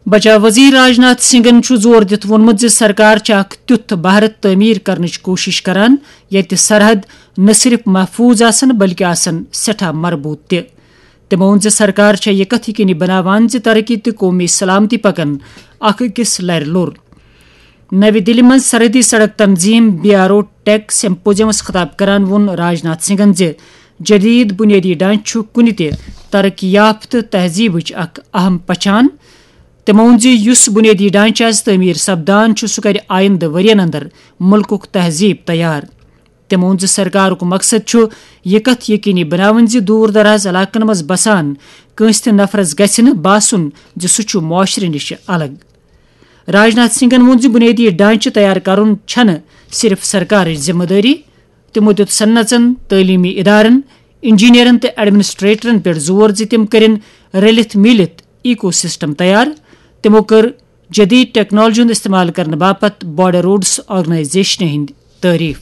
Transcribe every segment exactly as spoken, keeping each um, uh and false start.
بچاو وزیر راج ناتھ سنگھن چھُ زور دِتھ ووٚنمُت زِ سرکار چھِ اکھ تیُتھ بھارت تعمیٖر کرنٕچ کوٗشش کران، ییٚتہِ سرحد نہ صرف محفوٗظ آسن، بلکہِ آسن سٮ۪ٹھاہ مربوٗط تہِ۔ تٔمۍ ووٚن زِ سرکار چھےٚ یہِ کتھ یقینی بناوان زِ ترقی تہٕ قومی سلامتی پکن اکھ أکِس لرِ لوٚر۔ نَوِ دِلہِ منٛز سرحدی سڑک تنظیم، بی آر او ٹیک سیمپوزیمس خطاب کران ووٚن راج ناتھ سنگھن زِ جدید بنیٲدی ڈھانچہٕ چھُ کُنہِ تہِ ترقی یافتہٕ تہذیبٕچ اکھ اہم پہچان۔ تٔمۍ ووٚن زِ یُس بنیٲدی ڈھانچہٕ آز تعمیٖر سپدان چھُ، سُہ کرِ آیندٕ ؤرین اندر مُلکُک تہذیب تیار۔ تٔمۍ ووٚن زِ سرکارُک مقصد چھُ یہِ کتھ یقینی بناوٕنۍ زِ دوٗر دراز علاقن منٛز بسان کٲنٛسہِ تہِ نفرس گژھِ نہٕ باسُن زِ سُہ چھُ معاشرٕ نِش الگ۔ راج ناتھ سنگھن ووٚن زِ بنیٲدی ڈھانچہٕ تیار کرُن چھنہٕ صرف سرکارٕچ ذمہٕ دٲری۔ تِمو دیُت صنعژن، تعلیمی ادارن، انجینئرن تہٕ ایڈمنسٹریٹرن پٮ۪ٹھ زور زِ تِم کٔرِن رٔلِتھ میٖلِتھ ایکو سسٹم تیار۔ تِمو کٔر جدید ٹیکنالوجی ہُنٛد استعمال کرنہٕ باپتھ بارڈر روڈس آرگنائزیشنہِ ہٕنٛدۍ تعریف۔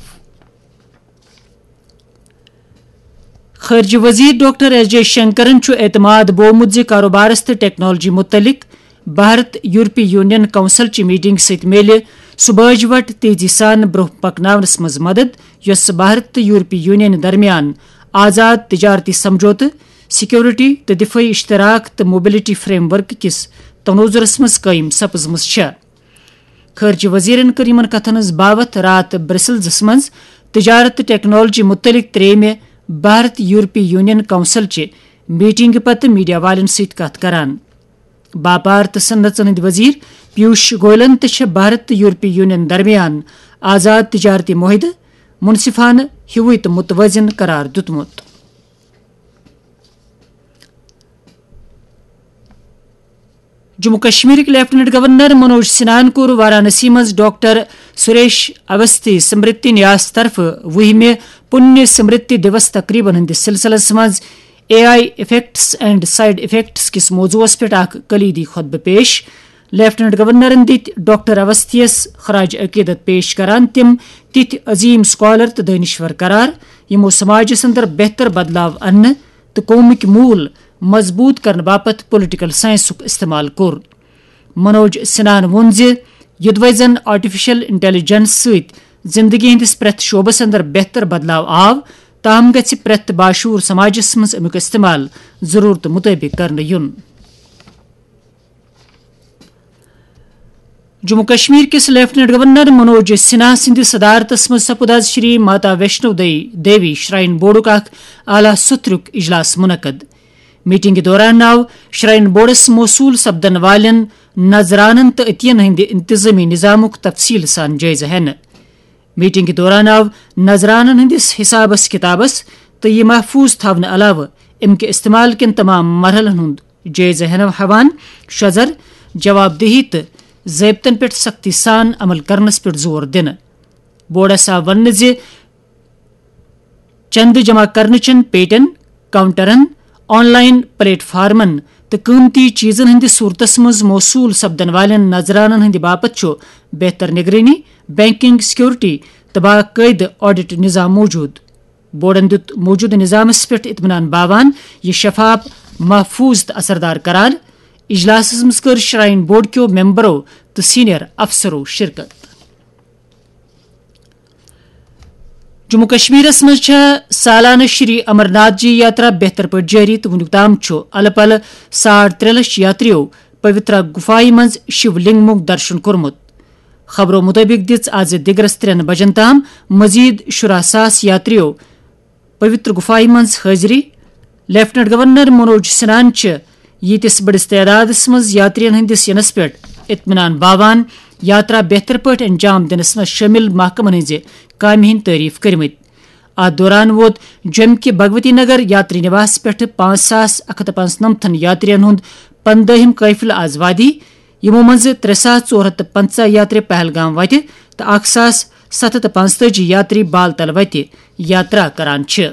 خارجہ وزیر ڈاکٹر ایس جے شنکرن چھُ اعتماد بوومُت زِ کاروبارس تہٕ ٹیکنالوجی متعلق بھارت یورپی یونین کونسل چہِ میٹنگ سۭتۍ میلہِ سُہ باج وٹ تیزی سان برونٛہہ پکناونس منٛز مدد، یۄس بھارت تہٕ یورپی یونین درمیان آزاد تجارتی سمجھوتہٕ، سیکورٹی تہٕ دفٲعی اشتراک تہٕ موبلٹی فریم ورک کِس تنوزرس منٛز قٲیِم سپٕزمٕژ چھےٚ۔ خارجہ وزیرن کٔر یِمن کتھن ہٕنٛز باوتھ راتھ برسلزس منٛز تجارت تہٕ ٹیکنالوجی متعلق ترٛیٚیمہِ بھارت یورپی یونین کونسل چہِ میٹنگہِ پتہٕ میڈیا والٮ۪ن سۭتۍ کتھ کران۔ باپار تہٕ صنعژن ہٕنٛدۍ وزیر پیوش گویلن تہِ چھےٚ بھارت تہٕ یورپی یونین درمیان آزاد تجارتی معاہدٕ منصفانہٕ ہیوُے تہٕ متوازن قرار دیُتمُت۔ جموں کشمیرٕکۍ لیفٹیننٹ گورنر منوج سنہاہن کوٚر وارانسی منٛز ڈاکٹر سریش اوستھی سمرتی نیاس طرفہٕ وُہمہِ پُنیہ سمرتی دیوس تقریبن ہٕنٛدِس سلسلس منٛز A I effects and side effects کِس موضوعس پٮ۪ٹھ اکھ کلیدی خطبہٕ پیش۔ لیفٹیننٹ گورنرن دِتۍ ڈاکٹر اوستھیس خراج عقیدت پیش کران تِم تِتھۍ عظیم اسکالر تہٕ دٲنِشور قرار، یِمو سماجس اندر بہتر بدلاو اننہٕ تہٕ قومٕکۍ موٗل مضبوٗط کرنہٕ باپتھ پولیٹیکل سائنسُک استعمال کوٚر۔ منوج سنہاہن ووٚن زِ یوٚدوَے زن آرٹیفیشل انٹیلیجنس سۭتۍ زندگی ہٕنٛدِس پرٛٮ۪تھ شعبس اندر بہتر بدلاو آو، تاہم گژھِ پرٛٮ۪تھ باشعوٗر سماجس منٛز امیُک استعمال ضروٗرتہٕ مُطٲبِق کرنہٕ یُن۔ جموں کشمیر کِس لیفٹیننٹ گورنر منوج سنہا سٕنٛدِ صدارتس منٛز سپُد آز شری ماتا ویشنو دے-، دیوی شرائن بورڈُک اکھ اعلیٰ سطرُک اجلاس منعقد۔ میٹنگہِ دوران آو شرائن بورڈس موصول سپدن والٮ۪ن نذرانن تہٕ عطین ہٕنٛدِ انتظامی نظامُک تفصیل سان جٲیزٕ ہٮ۪نہٕ۔ میٹنگہِ دوران آو نذرانن ہٕنٛدِس حسابس کتابس تہٕ یہِ محفوظ تھاونہٕ علاوٕ امہِ کہِ استعمال کٮ۪ن تمام مرحلن ہُنٛد جٲیزٕ ہٮ۪نہٕ ہٮ۪وان شزر، جواب دہی تہٕ ضٲبطن پٮ۪ٹھ سختی سان عمل کرنس پٮ۪ٹھ زور دِنہٕ۔ بورڈس آو وننہٕ زِ چندٕ جمع کرنہٕ چٮ۪ن پیٹٮ۪ن، کاؤنٹرن، آن لائن پلیٹ فارمن تہٕ قۭمتی چیزن ہٕنٛدِس صورتس منٛز موصول سپدن والٮ۪ن نذرانن ہٕنٛدِ باپتھ چھُ بہتر نگرٲنی، بینکنگ سیکورٹی تہٕ باقٲعدٕ آڈٹ نظام موجود۔ بورڈن دیُت موجودٕ نظامس پٮ۪ٹھ اطمینان باوان یہِ شفاف، محفوظ تہٕ اثردار قرار۔ اجلاسس منٛز کٔر شرائن بورڈ کیو ممبرو تہٕ سینئر افسرو شرکت۔ جموں کشمیرس منٛز چھےٚ سالانہٕ شری امرناتھ جی یاترا بہتر پٲٹھۍ جٲری تہٕ وُنیُک تام چھُ الہٕ پلہٕ ساڑ ترٛےٚ لچھ یاتریو پویترا گفایہِ منٛز شیو لنگمُک درشن کوٚرمُت۔ خبرو مُطٲبِق دِژ آز دِگرس ترٛٮ۪ن بجن تام مزید شُراہ ساس یاتریو پویتر گفایہِ منٛز حٲضری۔ لیفٹیننٹ گورنر منوج سنہاہن چھِ ییٖتِس بٔڑِس تعدادس منٛز یاترین ہٕنٛدِس یِنس پٮ۪ٹھ اطمینان باوان۔ یاترا بہتر پٲٹھۍ انجام دِنس منٛز شٲمِل محکمن ہٕنٛزِ کامہِ ہٕنٛدۍ تعریف کٔرمٕتۍ۔ اتھ دوران ووت جوٚمہِ کہِ بھگوتی نگر یاتری نواس پٮ۪ٹھٕ پانٛژھ ساس اکھ ہتھ تہٕ پانٛژنمتھن یاترین ہُنٛد پندٲہِم قٲفلہٕ آز وادی، یِمو منٛزٕ ترٛےٚ ساس ژور ہتھ تہٕ پنٛژاہ یاتری پہلگام وتہِ تہٕ اکھ ساس ستھ ہتھ تہٕ پانٛژتٲجی یاتری بال تل وتہِ یاترا کران چھِ۔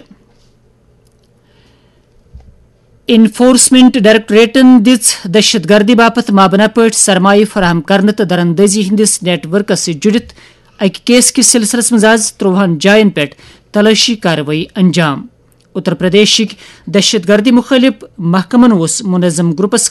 انفورسمنٹ ڈائریکٹوریٹن دِژ دہشت گردی باپتھ مابنا پٲٹھۍ سرمایہ فراہم کرنہٕ تہٕ دراندازی ہٕنٛدِس نیٹ ورکس سۭتۍ جُڑِتھ اَکہِ کیس کِس سلسلس منٛز آز ترٛۆہن جاین پٮ۪ٹھ تلٲشی کاروٲیی انجام۔ اتر پردیشٕکۍ دہشت گردی مُخٲلِف محکمن اوس منظم گروپس